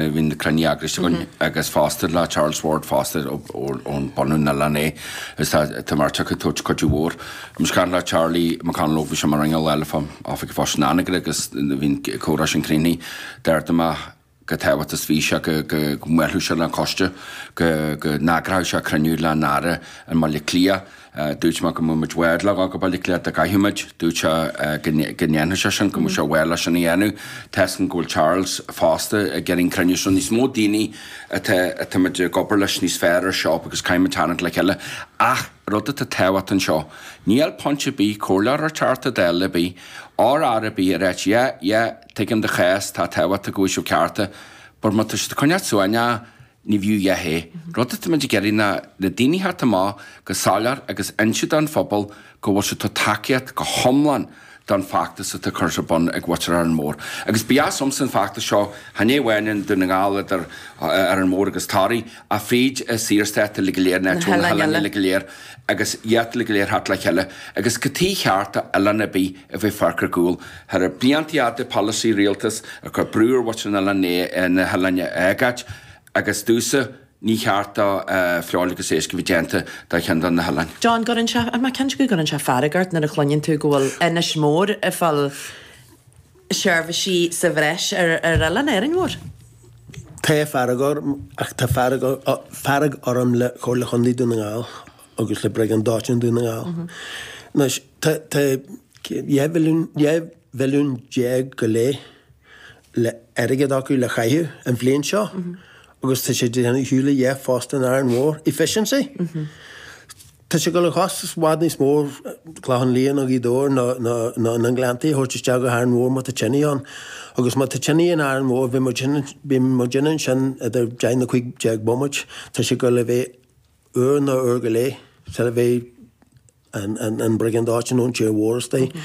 Bhí na cruinnithe eagraithe againn agus fosta le Charles Ward fosta ón bunú na oileán é agus tá an bheirt acu ag tabhairt cuidiú mhór. Bhí mise ag caint le Charlie McConalogue bhí sé mar inneall eile fá Oifig an Phoist in Anagaire agus bhí an comhrá sin críochnaithe. D'ardaigh mé chomh tábhachtach is bhí sé go mbuailfeadh sé le an coiste, go n-eagródh sé cruinniú le an Aire i mBaile Átha Cliath. Dúirt mé go mbeadh muid i bhfad le dhul go Baile Átha Cliath dá gcaithfeadh muid. Dúirt sé go ndéanfadh sé sin, go mbeadh sé bhreá leis sin a dhéanamh. Tá 'fhios agam go bhfuil Charles fosta ag iarraidh an cruinniú so níos mó daoine atá atá muid ag obair leis níos fearr ar seo agus caithfidh muid tarraingt le chéile. Ach rud atá tábhachtach anseo, níl point ar bith, comhairleoir or Teachta Dála ar bith, or Aire ar bith a ráit yeah, yeah, tuigim do chás, tá tábhachtach go bhfuil sibh cearta, but má tá siad ag coinneáil suaimhneach, Ní bhfiú a dhath é. Rud atá muid ag iarraidh ná na daoine a theacht amach go soiléir agus inse don phobal go bhfuil siad ag tacaíocht go hiomlán don feachtas atá curtha ar bun ag mhuintir Árainn Mhór. Agus ba dheas liomsa an feachtas seo, chan é amháin i nDún na nGall idir Árainn Mhór agus Toraigh, ach fríd an Saorstát uilig go léir, na hoileáin uilig go léir agus iad uilig go léir theacht le chéile. Agus cad chuige cheart do oileán ar bith a bheith fágtha ar gcúl. Thar na blianta fhada polasaí rialtas ag cur brú ar mhuintir na n-oileán na hoileáin a fhágáint agus domhsa ní cheart do feoil agus éisc a bheith déanta de cheann de na hoileáin. John, Cuireann sé, mé cinnte go gcuireann sé fearg ort nuair a chluineann tú go bhfuil Inis Mór ag fáil seirbhísí sa bhreis ar oileán Árainn Mhór. Tá fearg orm ach tá fearg fearg orm le Comhairle Chontae Dún na nGall agus le Briogáid Dóiteáin Dún na nGall. Anois tá tá 12 mhilliún 12 mhilliún go leith le airgead acu le chaitheamh an bhliain seo agus tá sé déanamh shiúl a dheich fosta in Árainn Mhór. Efficiency. Tá sé ag dul a chostas i bhfad níos mó Clochán Liath nó Gaoth Dobhair nó nó nó na Gleanntaí a thabhairt isteach go hÁrainn Mhór má tá tine ann. Agus má tá tine in Árainn Mhór bhí muid bhí muid ansin idir 10 nó 15 bomaite. Tá sé ag dul a bheith uair nó uair go leith sula bheidh an briogáid dóiteáin nó an tír mhór istigh.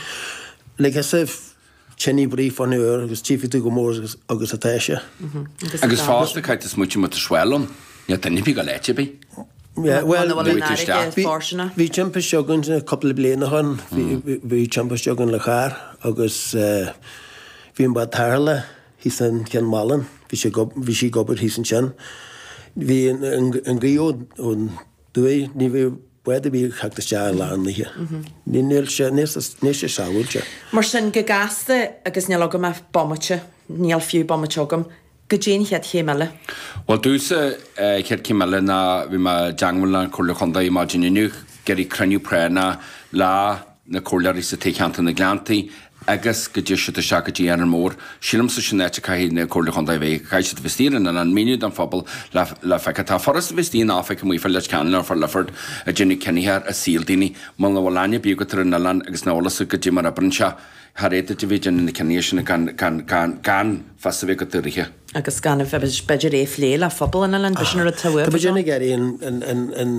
Like as if tine brí fán uair agus tchífidh tú go mór agus atá sé. Agus fosta caithfidh tú smaoitiú má tá swell ann, níl duine ar bith ag dul áit ar bith. Yeah, well, bhí timpiste againn cúpla bliain ó shin, bhí timpiste againn le carr agus bhí an bád tarrthála thíos in Cionn Mhálanna, bhí sí bhí sí ag obair thíos ansin. Bhí an ghaoth ón dtuaidh, ní bhí bád ar bith ag theacht isteach i lár an oíche. Níl sé, níl sé sábháilte. Mar sin, go gasta, agus níl agam ach bomaite, níl fiú bomaite agam, goidé an chéad chéim eile? Bhuel, domhsa, chéad chéim eile ná, bhí mé i dteangmháil le an Comhairle Chontae maidin inniu, ag iarraidh cruinniú práinneach le na comhairleoirí sa toghcheantar na Gleanntaí agus go dté siad isteach go dtí Árainn Mhór. Sílimse sin áit a caithfidh na Comhairle Chontae a bheith, caithfidh siad a bheith istigh ar an oileán, míniú don phobal le le feiceáil. Tá furast a bheith istigh in oifig amuigh fá Leitir Ceanainn nó fá Lifford ag déanamh cinnithe ar saol daoine. Muna bhfuil aithne ar bith agat ar an oileán agus nach bhfuil fhios agat goidé mar oibreann sé, char fhéad duit a bheith ag déanamh na cinnithe sin gan gan gan gan fios a bheith agat dáiríre. Agus gan a bheith b'fhéidir é a phlé le phobal an oileáin, b'shin an rud tá uaibh. Tá muid ag iarraidh an an an an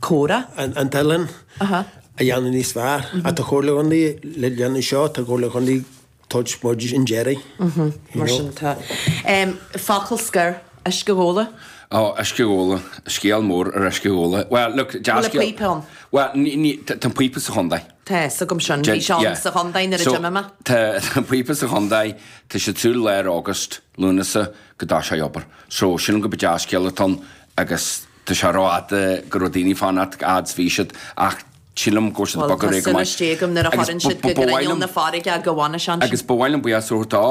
comhrá. An t-oileán a dhéanamh níos fearr. Ach tá Comhairle Chontae le déanamh seo, tá Comhairle Chontae tabhairt muid an deiridh. Mar sin tá. Focal scoir, uisce a dh'óladh? Ó, uisce a dh'óladh. Scéal mór ar uisce a dh'óladh. Well, look, dea-scéal. Bhfuil an píopa ann? Well, ní, ní, tá an píopa sa chontae. Tá fhios agam sin. Bhí sé ann sa chontae nuair a d'imigh mé. Tá an píopa sa chontae. Tá sé ag súil lár August, Lúnasa, go dtosóidh obair. So, sílim go mba dea-scéal atá ann agus Tá sé rófhada go raibh daoine ag fanacht fhad is bhí siad ach sílim go bhfuil siad ag bogadh ar aghaidh go maith. Bhuel, tá súil istigh agam nuair a chuireann siad go grinneall na farraige go bhfanfaidh sé ansin. Agus ba mhaith liom buíochas a thabhairt do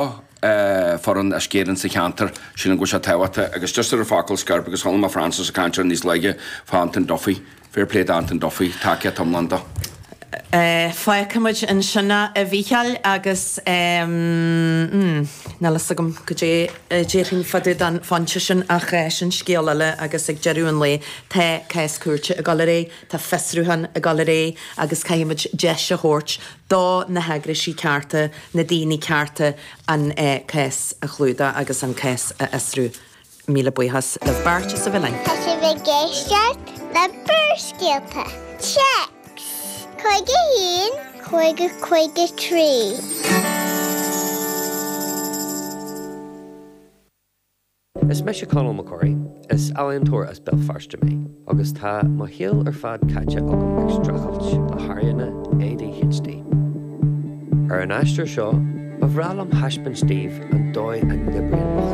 foireann Uisce Éireann sa cheantar, sílim go bhfuil sé tábhachtach agus just ar an focal scoir because chuala mé Francis ag caint air níos luaithe fá Anton Duffy, fair play do Anton Duffy, tacaíocht iomlán dó. Fágfaidh muid ansin é, a Mhícheáil, agus níl fhios agam goidé a déarfainn fá dtaobh den phointe sin ach sin scéal eile agus ag deireadh an lae tá cás cúirte ag dul ar aghaidh, tá fiosrúchán ag dul ar aghaidh agus caithfidh muid deis a thabhairt do na heagraisí cearta, na daoine cearta an cás a chlúdach agus an cás a fhiosrú. Míle buíochas libh beirt as a bheith linn. Tá sibh ag éisteacht le Barrscéalta. Téacs 51 50 53. Is mise Conall McCorry. Is ealaíontóir as Béal Feirste mé agus tá mo shaol ar fad caite agam ag streachailt le hairíonna ADHD. Ar an aistear seo, ba bhreá liom thaispeáint daoibh an dóigh a n-oibríonn mo.